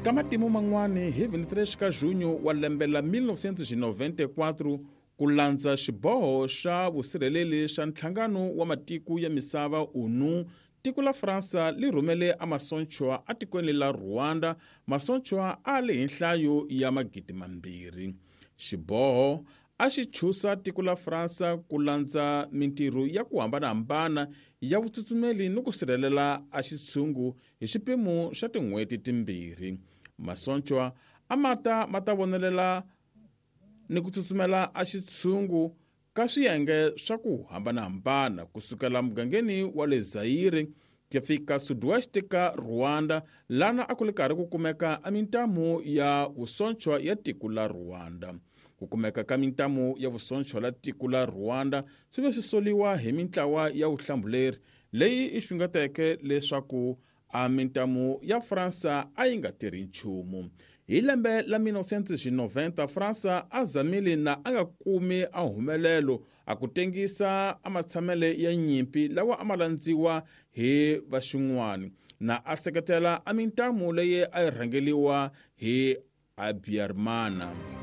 Ka matimu man'wani, hi 23 ka Junho wa lembe la 1994, ku landza xiboho xa vusirheleli xa Nhlangano wa Matiko ya Misava, ONU, tiko la Fransa li rhumele a masonchwa atikweni la Rwanda, masonchwa a li hi nhlayo ya 2000. Xiboho a xi chusa tiko la Fransa ku landza mintirho ya ku hambanahambana ya vutsutsumeli ni ku sirhelela a xitshungu hi xipimo xa tin'hweti timbirhi. Masonchwa a ma ta ma ta vonelela ni ku tsutsumela a xitshungu ka swiyenge swa ku hambanahambana ku sukela mugangeni wa le Zaire ku ya fika sud-ouest ka Rwanda, lana a ku li karhi ku kumeka a mintamu ya vusonchwa ya tiko la Rwanda. Ku kumeka ka mintamu ya vusonchwa la tiko la Rwanda swi ve swi soliwa hi mintlawa ya vuhlambuleri leyi i xungeteke leswaku a mintamu ya Fransa a yi nga tirhi nchumu. Hi lembe la 1990, Fransa a zamile na a nga kumi a humelelo a ku tengisa a matshamele ya nyimpi lawa a ma landziwa hi vaxin'wani, na a seketela a mintamu leyi a yi rhangeliwa hi Habyarimana.